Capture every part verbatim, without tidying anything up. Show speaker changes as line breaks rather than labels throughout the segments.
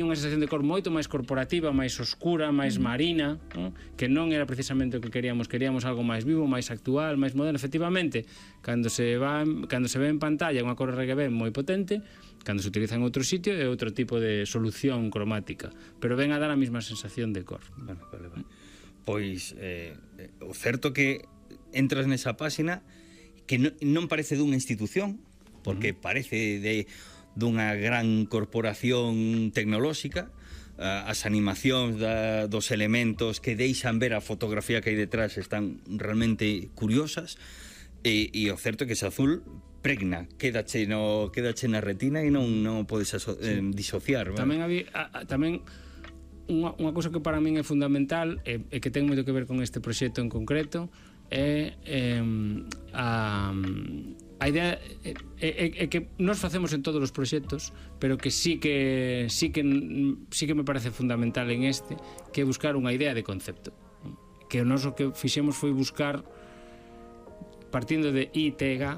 unha sensación de cor moito máis corporativa, máis oscura, máis marina, ¿no? Que non era precisamente o que queríamos, queríamos algo máis vivo, máis actual, máis moderno. Efectivamente, cando se va, cando se ve en pantalla unha cor R G B moi potente, cando se utiliza en outro sitio é outro tipo de solución cromática, pero ven a dar a mesma sensación de cor.
Vale, vale, vale. Pois eh, o certo que entras nesa páxina que non, non parece dunha institución, porque uh-huh. parece de dunha gran corporación tecnolóxica, as animacións da, dos elementos que deixan ver a fotografía que hai detrás están realmente curiosas, e, e o certo é que ese azul pregna, quédache, no, quédache na retina e non, non podes aso, eh, disociar.
Tamén había, a, a, tamén unha, unha cousa que para min é fundamental e, e que ten moito que ver con este proxecto en concreto é eh, a... A idea é, é, é que nós facemos en todos os proxectos, pero que sí que sí que sí que me parece fundamental en este, que é buscar unha idea de concepto. Que o noso que fixemos foi buscar, partindo de I T G A,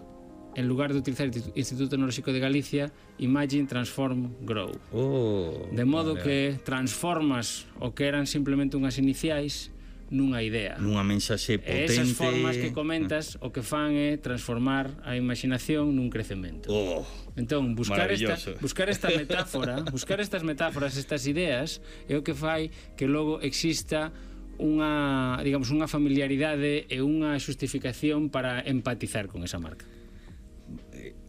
en lugar de utilizar o Instituto Tecnolóxico de Galicia, Imagine, Transform, Grow.
Oh,
de modo
vale.
que transformas o que eran simplemente unhas iniciais nunha idea.
Nunha mensaxe potente.
E esas formas que comentas o que fan é transformar a imaginación nun crecemento.
Oh,
entón, buscar esta, buscar esta metáfora, buscar estas metáforas, estas ideas, é o que fai que logo exista unha, digamos, unha familiaridade e unha xustificación para empatizar con esa marca.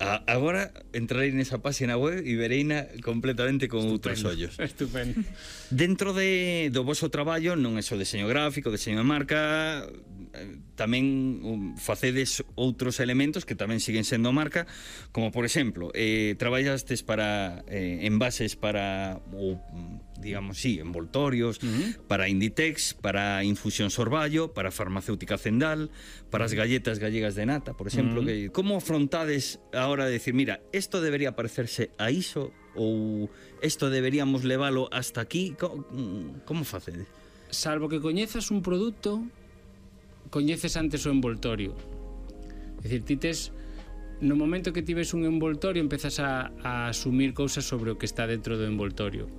A, agora entrarei nesa página web e vereina completamente con
Estupendo,
outros ollos.
Estupendo.
Dentro de, do voso traballo non é só deseño gráfico, deseño de marca, tamén um, facedes outros elementos que tamén siguen sendo marca, como por exemplo, eh, traballastes para eh, envases para ou, digamos, sí, envoltorios, uh-huh. para Inditex, para Infusión Sorballo, para Farmacéutica Zendal, para as galletas gallegas de nata, por exemplo. Uh-huh. Que, como afrontades a hora de decir, mira, esto debería parecerse a iso ou esto deberíamos leválo hasta aquí? Como, como facedes?
Salvo que coñezas un produto, coñeces antes o envoltorio. É dicir, ti tes, no momento que ti ves un envoltorio, empezas a, a asumir cousas sobre o que está dentro do envoltorio.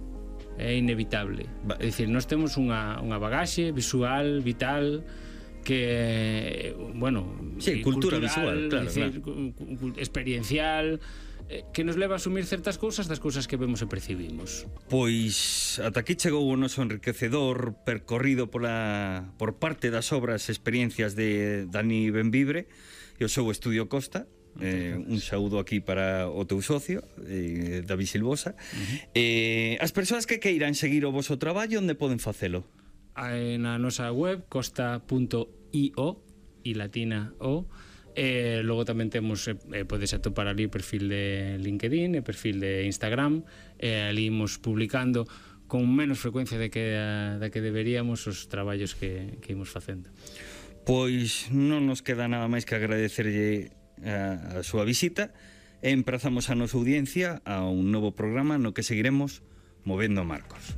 É inevitable. Va. É dicir, nós temos unha, unha bagaxe visual, vital, que, bueno,
sí, cultura visual, claro,
decir,
claro.
experiencial, que nos leva a asumir certas cousas das cousas que vemos e percibimos.
Pois ata aquí chegou o noso enriquecedor percorrido pola, por parte das obras e experiencias de Dani Benvibre e o seu Estudio Costa. Eh, un saúdo aquí para o teu socio, eh, David Silvosa. Uh-huh. eh, As persoas que queiran seguir o voso traballo, onde poden facelo?
Na nosa web, costa punto i o, i latina o. E logo tamén temos, eh, podes atopar ali o perfil de LinkedIn, o perfil de Instagram, e ali imos publicando con menos frecuencia de que, de que deberíamos os traballos que, que imos facendo.
Pois non nos queda nada máis que agradecerlle a, a súa visita e emprazamos a nosa audiencia a un novo programa no que seguiremos movendo marcos.